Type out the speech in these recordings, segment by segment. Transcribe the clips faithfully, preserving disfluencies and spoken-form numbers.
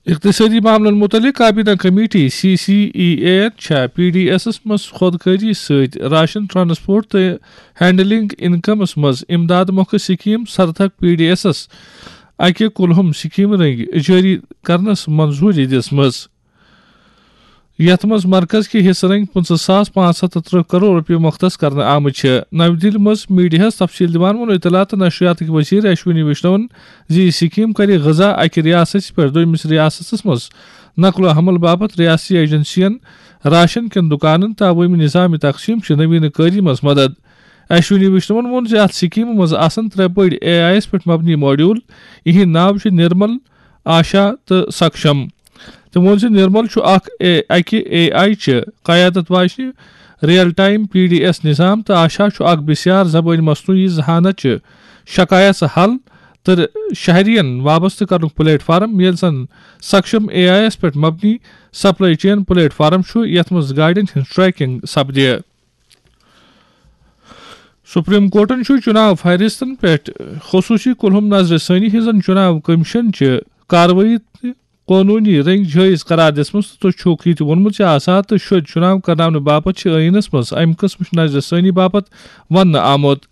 اقتصٲدی معاملن متعلق کابینہ committee, C C E A, چھےٚ پی ڈی ایسس منٛز خودکٲری سۭتۍ راشن، ٹرانسپورٹ تہٕ ہینڈلنگ انکمس منٛز امداد مۄکھٕ سکیٖم سرتھک پی ڈی ایسس اکہِ کُلہُم سکیٖمہٕ رٔنگۍ جٲری کرنس منظوٗری دِژمٕژ، یتھ منٛز مرکز کہِ حصہٕ رٔنگۍ پٕنٛژٕہ ساس پانٛژھ ہتھ تہٕ ترٕٛہ کرور رۄپیہِ مختص کرنہٕ آمٕتۍ چھِ۔ نَوِ دِلہِ منٛز میڈیاہَس تفصیٖل دِوان ووٚن اطلاعات تہٕ نشریاتٕکۍ وزیر اشونی ویشنون زِ یہِ سکیٖم کرِ غذا اکہِ ریاستہٕ پٮ۪ٹھ دوٚیمِس ریاستس منٛز نقل و حمل باپتھ ریاستی ایجنسین، راشن کٮ۪ن دُکانن تہٕ عوٲمی نظام تقسیٖم چہِ نویٖنہٕ کٲری منٛز مدد۔ اشونی ویشنون ووٚن زِ اتھ سکیٖمہِ منٛز آسن ترٛےٚ بٔڑۍ اے آئی یس پٮ۪ٹھ مبنی ماڈیول۔ یِہنٛدۍ ناو چھِ نرمل، آشا تہٕ سکشم۔ تٔمۍ ووٚن زِ نرمل چھُ اکھ اے-، اکہِ اے آئی چہِ قیادت واجنہِ real time P D S نظام تہٕ آشا چھُ اکھ بسیار زبٲنۍ مصنوعی ذہانت چہِ شکایژ حل تہٕ شہرین وابستہٕ کرنُک پلیٹ فارم، ییٚلہِ زن سکشم اے آئی یس پٮ۪ٹھ مبنی سپلائی چین پلیٹ فارم چھُ، یتھ منٛز گاڑین ہٕنٛز ٹریکنگ سپدِ۔ سپریم کورٹن چھُ چُناو فہرستن پٮ۪ٹھ خصوٗصی کُلہُم نظرِ ثٲنی ہٕنٛزن چُناو کمیشن چہِ کاروٲیی تہٕ قونوٗنی رٔنگۍ جٲیز قرار دِژمٕژ تہٕ چھُکھ یہِ تہِ ووٚنمُت زِ آزاد تہٕ شوٚدۍ چُناو کرناونہٕ باپتھ چھِ ٲیٖنس منٛز امہِ قٕسمٕچ نظرِ ثٲنی باپتھ وننہٕ آمُت۔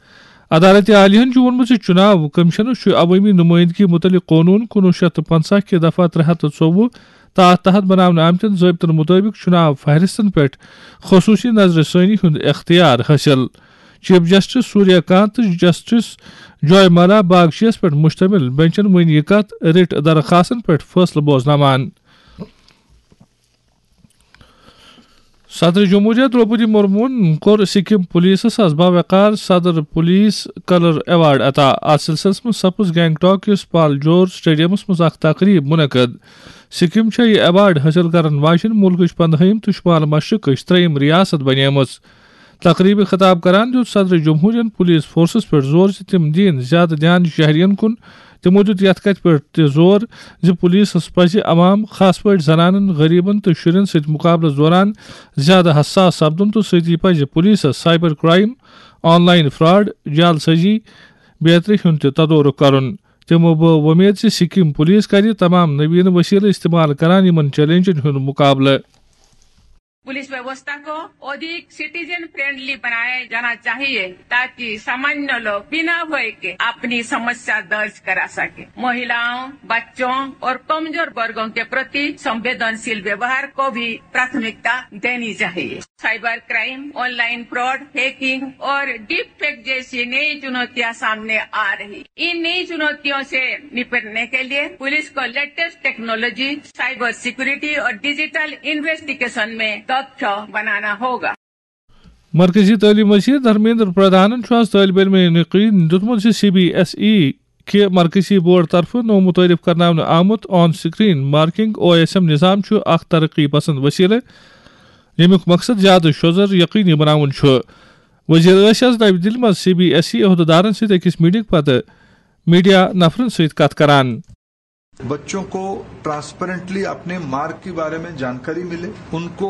عدالتِ عالیہن چھُ ووٚنمُت زِ چُناو کمیشنس چھُ عوٲمی نُمٲیندگی مُتعلق قونوٗن کُنوُہ شیٚتھ تہٕ پنٛژاہ کہِ دفعہ ترٛےٚ ہتھ تہٕ ژوٚوُہ تہٕ اتھ تحت بناونہٕ آمتٮ۪ن ضٲبطن مُطٲبِق چُناو فہرستن پٮ۪ٹھ خصوٗصی نظرِ ثٲنی ہُنٛد اختیار حٲصِل۔ چیف جسٹس سوریہ کانت تہٕ جسٹس جوائے مالا باگچیَس پٮ۪ٹھ مشتمل بنچن وۄنۍ یہِ کتھ رِٹ درخواستن پٮ۪ٹھ فٲصلہٕ بوزناوان۔ صدر جمہوریہ درٛوپدی مرموہن کوٚر سکم پولیسس از باوقار صدر پولیس کلر ایوارڈ عطا۔ اتھ سلسلس منٛز سپٕز گینگٹاک کِس پال جور سٹیڈیمس منٛز اکھ تقریب منعقد۔ سکم چھےٚ یہِ ایوارڈ حٲصِل کرن واجیٚنۍ مُلکٕچ پندہٲیِم تہٕ شمال مشرقٕچ ترٛیٚیِم ریاست بنیمٕژ۔ تقریبہِ خطاب کران دیُت صدر جمہوریہن پولیس فورسس پٮ۪ٹھ زور زِ تِم دِن زیادٕ دیان شہرین کُن۔ تِمو دیُت یتھ کتھِ پٮ۪ٹھ تہِ زور زِ پولیسس پزِ عوام، خاص پٲٹھۍ زنانن، غریبن تہٕ شُرٮ۪ن سۭتۍ مقابلس دوران زیادٕ حساس سپدُن تہٕ سۭتی پزِ پولیسس cyber crime, online fraud, جعل سازی بیترِ ہُنٛد تہِ تدورک کرُن۔ تِمو بٲو وۄمید زِ سکم پولیس کرِ تمام نوین وسیلہٕ استعمال کران یِمن چیلنجن ہُنٛد مقابلہٕ۔ पुलिस व्यवस्था को अधिक सिटीजन फ्रेंडली बनाया जाना चाहिए, ताकि सामान्य लोग बिना भय के अपनी समस्या दर्ज करा सके। महिलाओं, बच्चों और कमजोर वर्गों के प्रति संवेदनशील व्यवहार को भी प्राथमिकता देनी चाहिए। Cyber crime, online fraud, hacking और डीप फेक जैसी नई चुनौतियां सामने आ रही। इन नई चुनौतियों से निपटने के लिए पुलिस को लेटेस्ट टेक्नोलॉजी, साइबर सिक्योरिटी और डिजिटल इन्वेस्टिगेशन में दक्ष बनाना होगा। مرکزی تعلیم وزیر دھرمیندر پردھانن چھُ آز طٲلبہِ علمَن یقین دیُتمُت زِ سی بی ایس ای کہِ مرکزی بورڈ طرفہٕ نوٚو متعارف کرناونہٕ آمُت on screen marking O S M نظام چھُ اکھ ترقی پسند وسیلہٕ، ییٚمیُک مقصد زیادٕ شوٚزر یقینی بناوُن چھُ۔ وزیر ٲسۍ آز نَوِ دِلہِ منٛز سی بی ایس ای عہدٕدارن سۭتۍ أکِس میٹنگ پتہٕ میڈیا نفرن سۭتۍ کتھ کران۔ बच्चों को ट्रांसपेरेंटली अपने मार्क के बारे में जानकारी मिले, उनको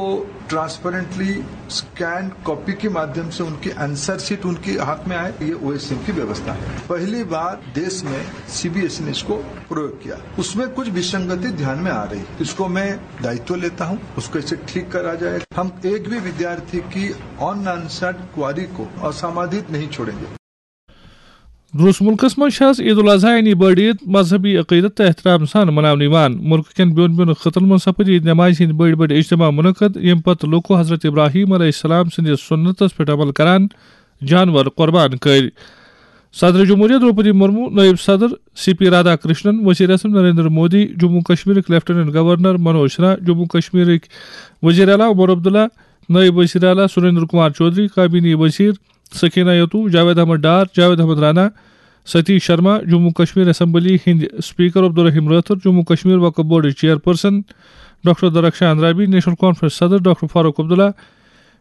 ट्रांसपेरेंटली स्कैन कॉपी के माध्यम से उनकी आंसर शीट उनके हाथ में आए, ये ओएसएम की व्यवस्था है। पहली बार देश में सीबीएसई ने इसको प्रयोग किया, उसमें कुछ विसंगति ध्यान में आ रही, इसको मैं दायित्व लेता हूं, उसको इसे ठीक करा जाए। हम एक भी विद्यार्थी की अनआंसर्ड क्वारी को असमाधानित नहीं छोड़ेंगे। روس مُلکَس منٛز چھِ آز عید الاضحیٰ یعنی بٔڑ عید مذہبی عقیدت تہٕ احترام سان مناونہٕ یِوان۔ مُلکہٕ کٮ۪ن بیوٚن بیوٚن خٕطن منٛز سپٕدۍ عید نمازِ ہٕنٛدۍ بٔڑۍ بٔڑۍ اجتماع منعقد، ییٚمہِ پتہٕ لوٗکو حضرت ابراہیم علیہ السلام سٕنٛدِس سُنتس پٮ۪ٹھ عمل کران جانور قربان کٔرۍ۔ صدر جمہوریہ درٛوپدی مرمو، نٲیِب صدر سی پی رادھا کرشنن، وزیر اعظم نریندر مودی، جموں کشمیرٕکۍ لیفٹیننٹ گورنر منوج سنہا، جموں کشمیرٕکۍ وزیر اعلیٰ عمر عبداللہ، نٲیِب وزیر اعلیٰ سریندر کمار چودھری، کابینی وزیر سکینہ یتو، جاوید احمد ڈار، جاوید احمد رانا، ستیش شرما، جموں کشمیر اسمبلی ہٕنٛدۍ اسپیکر عبدالرحیم رٲتھر، جموں کشمیر وقف بورڈٕچ چیئرپرسن ڈاکٹر درخشان رابی، نیشنل کانفرنس صدر doctor Farooq Abdullah,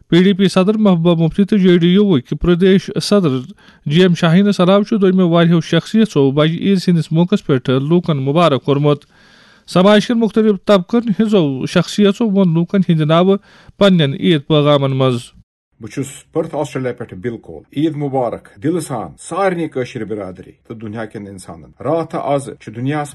P D P صدر محبوبہ مفتی تہٕ جے ڈی یوُک پردیش صدر جی ایم شاہینس علاوٕ چھُ دوٚیمٮ۪و واریاہو شخصیژو بجہِ عیٖد سٕنٛدِس موقعس پٮ۪ٹھ لوٗکن مبارک کوٚرمُت۔ سماج کٮ۪ن مُختٔلِف طبقن ہٕنٛزو شخصیژو ووٚن لوٗکن ہٕنٛدِ ناوٕ پننٮ۪ن عیٖد پٲغامن منٛز۔ بہٕ چھُس پٔرتھ آسٹریلیا پٮ۪ٹھٕ بِلکول۔ عیٖد مُبارک دِلہٕ سان سارنٕے کٲشِر برادری تہٕ دُنیا کٮ۪ن اِنسانن۔ راتھ تہٕ از چھِ دُنیاہس